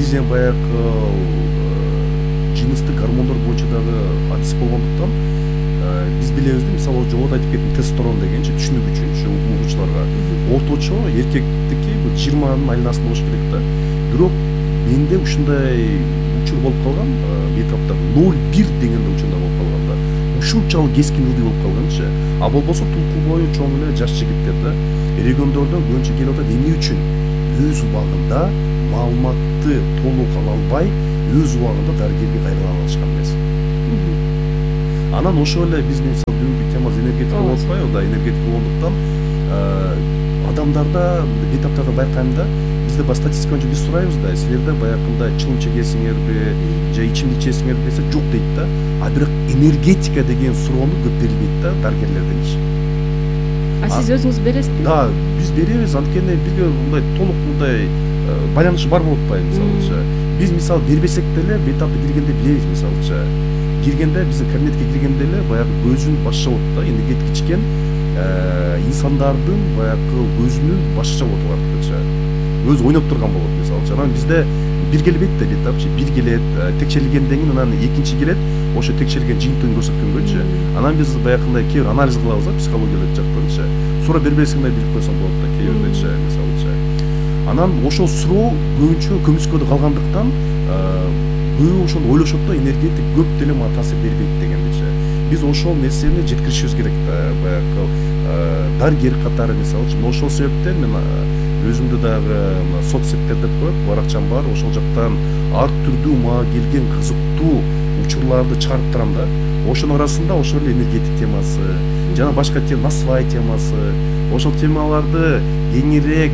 негизинен баягы жыныстык гормондор боюнча дагы адис болгондуктан биз билебиз да, мисалы жогоруда айтып кеттим, тестостерон дегенчи түшүнүк үчүн угуучуларга орточо эркектики 20-нын айланасында болуш керек да. Бирок менде ушундай учур болуп калган, бетапта 0,1 дегенде учурда болуп калган да. Ушунчалык кескин ылдый болуп калганчы. А болбосо тулку бою чоң эле жаш жигиттер да региондордон көбүнчө келип атат. Эмне үчүн? Өз убагында маалыматты толук ала албай, өз убагында дарыгерге кайрыла алышкан эмес. Анан ошол эле биздин бүгүнкү темабыз энергетика болуп атпайбы да, энергетика болгондуктан адамдарда, бетаптарда байкайм да, бизде баягы статистика боюнча биз сурайбыз да, силерде баягындай чылым чегесиңерби же ичимдик ичесиңерби десе жок дейт да. А бирок энергетика деген суроону көп берилбейт да дарыгерлерден иш. А сиз өзүңүз бересизби? Да, биз беребиз, анткени бизге мындай толук мындай байланыш бар болуп атпайбы мисалыча. Биз мисалы бербесек деле бетапты киргенде билебиз мисалыча. Киргенде биздин кабинетке киргенде эле баягы көзүн башча болот да, энергетика ичкен инсандардын баягы көзүнүн башча болот артыкча. Өзү ойноп турган болот мисалыча. Анан бизде бир келбейт да бетапчы, бир келет, текшерилгенден кийин анан экинчи келет, ошо текшерилген жыйынтыгын көрсөткөнгөчү. Анан биз баягындай кээ бир анализ кылабыз да, психологиялык жактанчы. Суроо бербесиң да билип койсоң болот да кээ бирдечи мисалыча. Анан ошол суроо көбүнчө көмүскөдө калгандыктан көбү ошону ойлошот да, энергетик көп деле мага таасир бербейт дегендечи. Биз ошол нерсени жеткиришибиз керек да, баягы дарыгер катары мисалычы. Ошол себептен мен өзүмдү дагы соц сеттер деп коет, баракчам бар, ошол жактан ар түрдүү мага келген кызыктуу учурларды чыгарып турам да. Ошонун арасында ошол эле энергетик темасы, жана башка тема, насвай темасы, ошол темаларды кеңирээк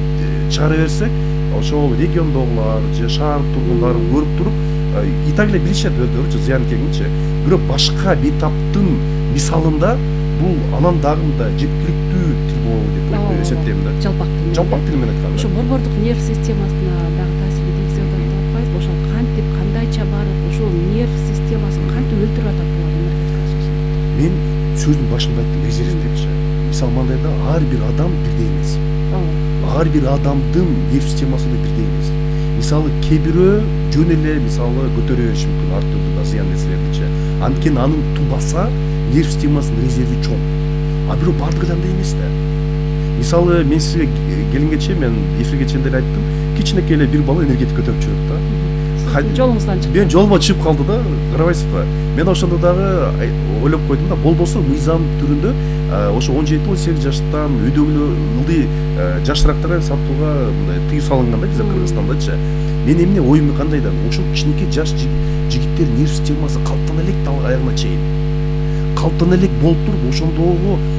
чыгара берсек, ошол региондогулар же шаар тургундары көрүп туруп, и так эле билишет өздөрүчү зыян экенинчи. Бирок башка бетаптын мисалында бул анан дагы мындай жеткиликтүү тил болобу деп эсептейм да. Жалпак тил менен айтканда. Ошо борбордук нерв системасына дагы таасир тийгизип атат деп атпайсызбы? Ошол кантип, кандайча барып, ошол нерв системасын кантип өлтүрүп атат булар энергетика соосун? Мен сөздүн башында айттым, резерв депчи. Мисалы мындай да, ар бир адам бирдей эмес. Ар бир адамдын нерв системасы да бирдей эмес. Мисалы кээ бирөө жөн эле мисалы көтөрө бериши мүмкүн ар түрдүү зыян нерселердичи. Анткени анын тубаса нерв системасынын резерви чоң. А бирок бардыгы андай эмес да. Мисалы мен сизге келгенче, мен эфирге чейин деле айттым, кичинекей эле бир бала энергетика көтөрүп жүрөт да. Жолуңуздан чыкты. Мен жолума чыгып калды да, карабайсызбы? Мен ошондо дагы ойлоп койдум да, болбосо мыйзам түрүндө ошо 17-18 жаштан өйдөгүлө ылдый жашыраактарга сатууга мындай тыюу салынган да бизде Кыргызстандачы. Мен эмне оюм кандай да, ошол кичинекей жаш жигиттер нерв системасы калыптана элек да аягына чейин. Калыптана элек болуп туруп, ошондогу